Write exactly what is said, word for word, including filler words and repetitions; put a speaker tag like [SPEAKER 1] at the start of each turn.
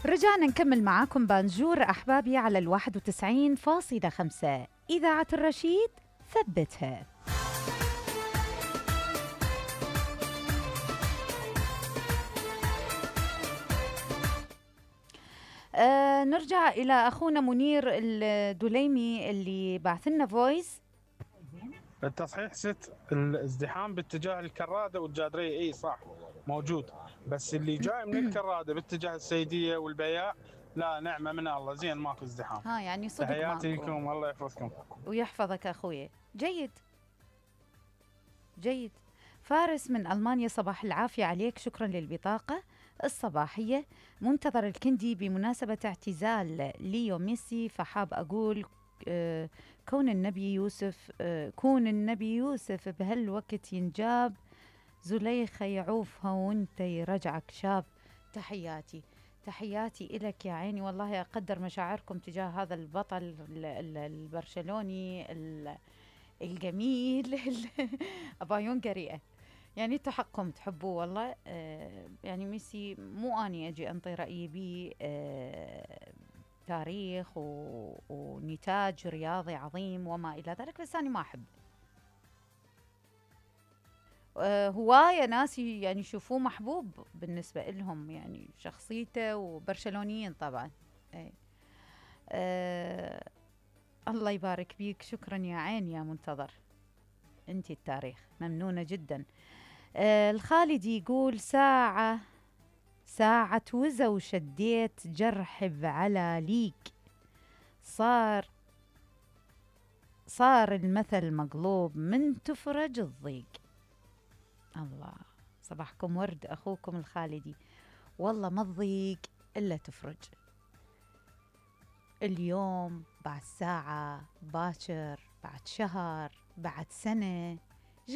[SPEAKER 1] رجعنا نكمل معاكم بانجور أحبابي على الواحد وتسعين فاصلة خمسة إذاعة الرشيد، ثبتها. آه نرجع إلى أخونا منير الدليمي اللي بعث لنا فويس.
[SPEAKER 2] التصحيح ست الازدحام باتجاه الكرادة والجادرية، اي صح موجود، بس اللي جاي من الكرادة باتجاه السيدية والبياع لا، نعمة من الله، زين ماكو ازدحام.
[SPEAKER 1] ها يعني صدق
[SPEAKER 2] تحياتي
[SPEAKER 1] ماكو.
[SPEAKER 2] لكم، الله يحفظكم
[SPEAKER 1] ويحفظك أخوي. جيد جيد. فارس من ألمانيا، صباح العافية عليك، شكرا للبطاقة الصباحية. منتظر الكندي بمناسبة اعتزال ليو ميسي، فحاب أقول آه كون النبي يوسف آه كون النبي يوسف بهالوقت ينجاب، زليخة يعوفها وانت يرجعك شاب. تحياتي تحياتي إلك يا عيني، والله أقدر مشاعركم تجاه هذا البطل البرشلوني الجميل أبا يونغري. يعني انتو حقكم تحبوه والله. آه يعني ميسي مو اني اجي انطي رايي بيه، آه تاريخ و... ونتاج رياضي عظيم وما الى ذلك، بس انا ما احب. آه هوايه ناس يعني يشوفوه محبوب بالنسبه لهم، يعني شخصيته، وبرشلونيين طبعا. اي آه الله يبارك بيك، شكرا يا عين يا منتظر، انتي التاريخ، ممنونة جدا. آه الخالدي يقول ساعة ساعة وزا وشديت جرح بعلى ليك، صار صار المثل مقلوب من تفرج الضيق. الله، صباحكم ورد أخوكم الخالدي. والله ما تضيق إلا تفرج. اليوم، بعد ساعة، باكر، بعد شهر، بعد سنة،